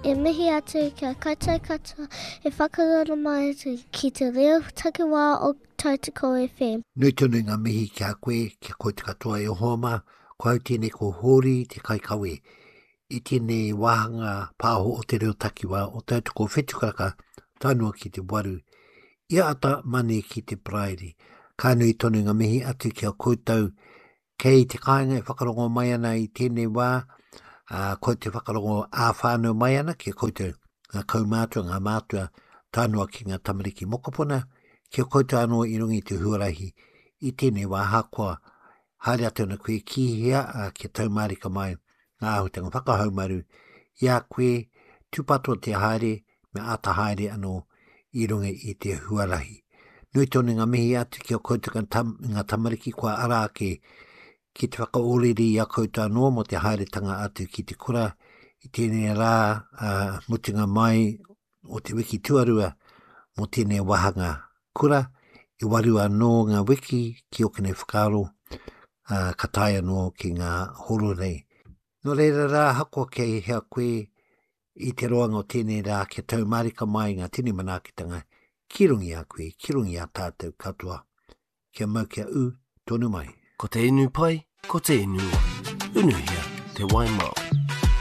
E mihi atu ki a koutou katoa e whakarongo mai ana ki te reo takiwā o Tautoko FM. Nui tonu ngā mihi ki a koe, ki a koutou katoa e hoa mā, ko au tēnei ko Hōri te kaikawe i tēnei wāhanga pāho o te reo takiwā o Tautoko Whetukaraka tae noa ki te waru i a ata mane ki te paraire. Ka nui tonu ngā mihi atu ki a koutou Kei te kāinga e whakarongo mai ana i tēnei wā, ā, ko te whakarongo ā-whānau mai ana ki a koutou, ngā kaumātua, ngā mātua, tae noa ki ngā tamariki mokopuna, ki a koutou anō i runga i te huarahi i tēnei wā, ahakoa haere atu ana koe ki hea, ā, kia tau mārika mai ngā āhuatanga whakahaumaru i a koe, tūpato te haere, me āta haere anō i runga i te huarahi. Nui tonu ngā mihi atu ki a koutou ngā, tam, ngā tamariki kua ara ake ki te whakaorere i a koutou anō mō te haeretanga atu ki te kura i tēnei rā uh, mutunga mai o te wiki tuarua mō tēnei wāhanga kura, e waru anō ngā wiki ki ōku nei whakaaro, uh, ka tae anō ki ngā horo nei. Nō reira rā, ahakoa kei hea koe, I te roanga o tēnei rā kia tau mārika mai ngā tini manaakitanga ki runga i a koe, ki runga i a tātou katoa. Kia mau kia ū tonu mai. Ko te inu pai, ko te inu wai. Unuhia te wai Māori.